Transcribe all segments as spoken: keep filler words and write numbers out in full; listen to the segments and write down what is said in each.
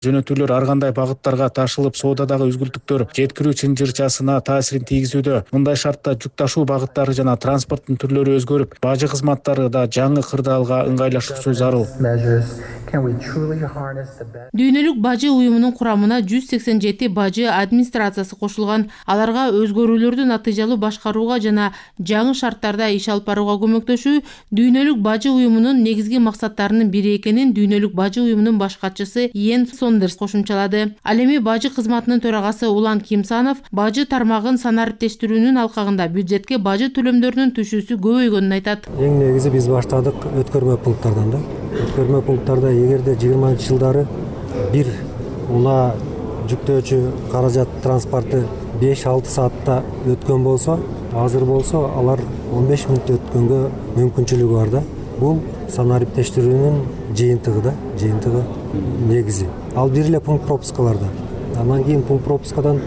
Жөнөтүүлөр ар кандай багыттарга ташылып, соодадагы үзгүлтүктөр жеткирүү чынжырчасына таасирин тийгизүүдө. Мындай шартта жүк ташуу багыттары жана транспорттун түрлөрү өзгөрүп, бажы кызматтары да жаңы кырдаалга ыңгайлашуусу зарыл. Дүйнөлүк бажы уюмунун курамына жүз сексен жети бажы администрациясы кошулган. Аларга өзгөрүүлөрдү натыйжалуу башкарууга жана жаңы шарттарда иш алып барууга көмөктөшүү Дүйнөлүк бажы уюмунун негизги максаттарынын бири экенин Дүйнөлүк бажы уюмунун баш катчысы Йен Сондерс кошумчалады. Ал эми бажы кызматынын төрагасы Улан Кимсанов бажы тармагын санариптештирүүнүн алкагында бюджетке бажы төлөмдөрүнүн түшүүсү көбөйгөнүн айтат. Эң негизи биз баштадык өткөрмө пункттардан да. Өткөрмө пункттарда эгерде жыйырманчы жылдары бир унаа жүктөөчү каражат транспорты беш алты саатта өткөн болсо, азыр болсо алар он беш мүнөттө өткөнгө мүмкүнчүлүгү бар да. Бул санариптештирүүнүн жыйынтыгы да, жыйынтыгы негизи. Ал бир эле пункт пропускаларда. Андан кийин пункт пропускадан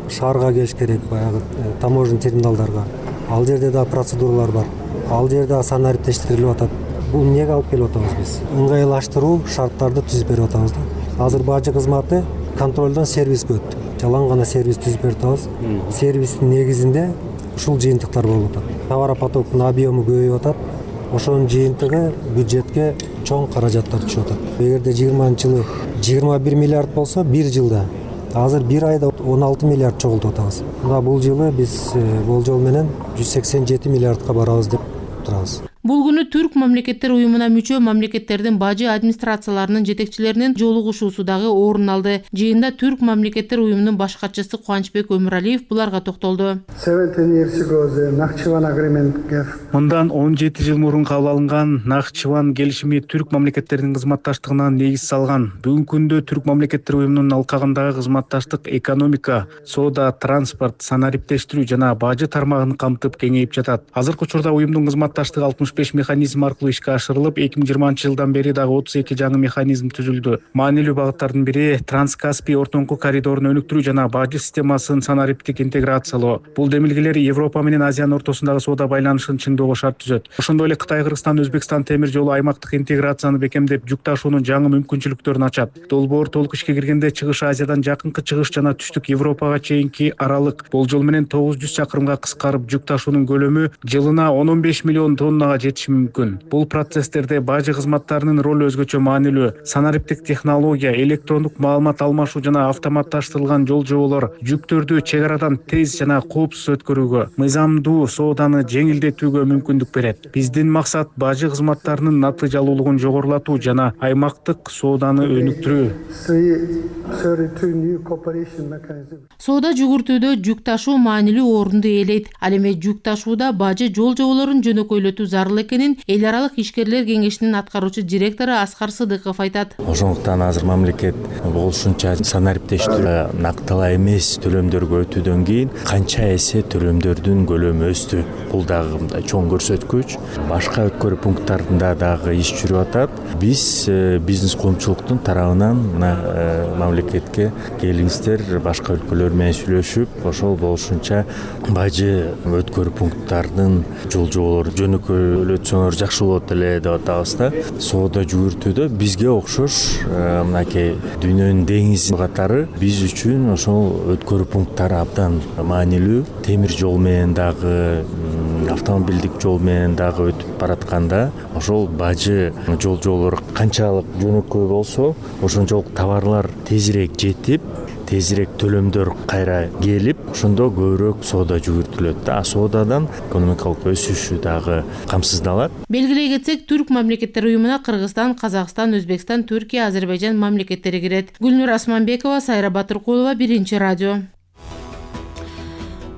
шаарга келиш керек, баягы таможня терминалдарга. Ал жерде да процедуралар бар. Ал жерде санариптештирилип атат. Бул эмнеге алып келип атабыз биз? Ыңгайлаштыруу шарттарды түзүп берип атабыз да. Азыр бажы кызматы контролдон сервиске өттү. Жалаң гана сервис түзүп берип атабыз. Сервистин негизинде ушул жыйынтыктар болуп атат. Товаропотоктун объему көбөйүп атат. Ошонун жыйынтыгы бюджетке чоң каражаттар түшүп атат. Эгерде жыйырманчы жылы жыйырма бир миллиард болсо, бир жылда азыр бир айда он алты миллиард чогултуп атабыз. Мына бул жылы биз болжол менен жүз сексен жети миллиардка барабыз деп турабыз. Бул күнү Түрк мамлекеттер уюмуна мүчө мамлекеттердин бажы администрацияларынын жетекчилеринин жолугушуусу дагы орун алды. Жыйында Түрк мамлекеттер уюмунун баш катчысы Кубанычбек Өмүралиев буларга токтолду. Мындан он жети жыл мурун кабыл алынган Нахчыван келишими Түрк мамлекеттеринин кызматташтыгына негиз салган. Бүгүнкү күндө Түрк мамлекеттер уюмунун алкагындагы кызматташтык экономика, соода, транспорт, санариптештирүү жана бажы тармагын камтып кеңейип жатат. Азыркы учурда уюмдун кызматташтыгы алтымыш беш механизм аркылуу ишке ашырылып, эки миң жыйырманчы жылдан бери дагы отуз эки жаңы механизм түзүлдү. Маанилүү багыттардын бири Транскаспий ортоңку коридорун өнүктүрүү жана бажы системасын санариптик интеграциялоо. Бул демилгелер Европа менен Азиянын ортосундагы соода байланышын чыңдоого шарт түзөт. Ошондой эле Кытай, Кыргызстан, Өзбекстан темир жолу аймактык интеграцияны бекемдеп, жүк ташуунун жаңы мүмкүнчүлүктөрүн ачат. Долбоор толук ишке киргенде Чыгыш Азиядан жакынкы Чыгыш жана Түштүк Европага чейинки аралык болжол менен тогуз жүз чакырымга кыскарып, жүк ташуунун көлөмү жылына он беш миллион тоннага жетиши мүмкүн. Бул процесстерде бажы кызматтарынын ролу өзгөчө маанилүү. Санариптик технология, электрондук маалымат алмашуу жана автоматташтырылган жол жоболор жүктөрдү чек арадан тез жана коопсуз өткөрүүгө, мыйзамдуу сооданы жеңилдетүүгө мүмкүндүк берет. Биздин максат бажы кызматтарынын натыйжалуулугун жогорулатуу жана аймактык сооданы өнүктүрүү. Соода жүгүртүүдө жүк ташуу маанилүү орунду ээлейт. Ал эми жүк ташууда бажы жол жоболорун жөнөкөйлөтүү зарыл экенин эл аралык ишкерлер кеңешинин аткаруучу директору Аскар Сыдыков айтат. Ошондуктан азыр мамлекет болушунча санариптештирүү нактала эмес төлөмдөргө өтүүдөн кийин канча эсе төлөмдөрдүн көлөмү өстү. Бул дагы мындай чоң көрсөткүч. Башка өткөрүү пункттарында дагы иш жүрүп атат. Биз бизнес коомчулуктун тарабынан мамлекетке келиңиздер, башка өлкөлөр менен сүйлөшүп, ошол болушунча бажы өткөрүү пункттарынын жол жоболору жөнөкөйлөтсөңөр жакшы болот эле деп атабыз да. Соода жүгүртүүдө бизге окшош мынакей дүйнөнүн деңизи катары биз үчүн ошол өткөрүү пункттары абдан маанилүү. Темир жол менен дагы, автомобилдик жол менен дагы өтүп баратканда ошол бажы жол жоболору канчалык жөнөкөй болсо, ошончолук товарлар тезирээк жетип, тезирээк төлөмдөр кайра келип, ошондо көбүрөөк соода жүгүртүлөт да. Соодадан экономикалык өсүшү дагы камсыздалат. Белгилей кетсек, Түрк мамлекеттер уюмуна Кыргызстан, Казакстан, Өзбекстан, Түркия, Азербайжан мамлекеттери кирет. Гүлнур Асманбекова, Сайра Батыркулова, Биринчи радио.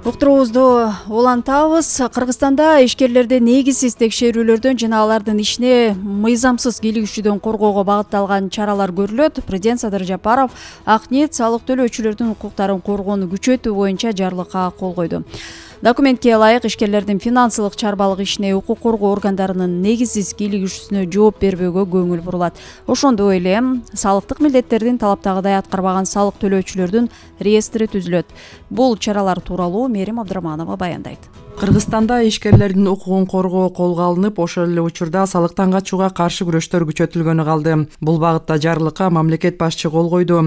Уктуруубузду улантабыз. Кыргызстанда ишкерлерди негизсиз текшерүүлөрдөн жана алардын ишине мыйзамсыз кийлигишүүдөн коргоого багытталган чаралар көрүлөт. Президент Садыр Жапаров ак ниет салык төлөөчүлөрдүн укуктарын коргоону күчөтүү боюнча жарлыкка кол койду. Документке ылайык ишкерлердин финансылык чарбалык ишине укук коргоо органдарынын негизсиз кийлигишүүсүнө жооп бербөөгө көңүл бурулат. Ошондой эле салыктык милдеттердин талаптагыдай аткарбаган салык төлөөчүлөрдүн реестри түзүлөт. Бул чаралар тууралуу Мерим Абдыраманова баяндайт. Кыргызстанда ишкерлердин укугун коргоо колго алынып, ошол эле учурда салыктан качууга каршы күрөштөр күчөтүлгөнү калды. Бул багытта жарлыкка мамлекет башчы кол койду.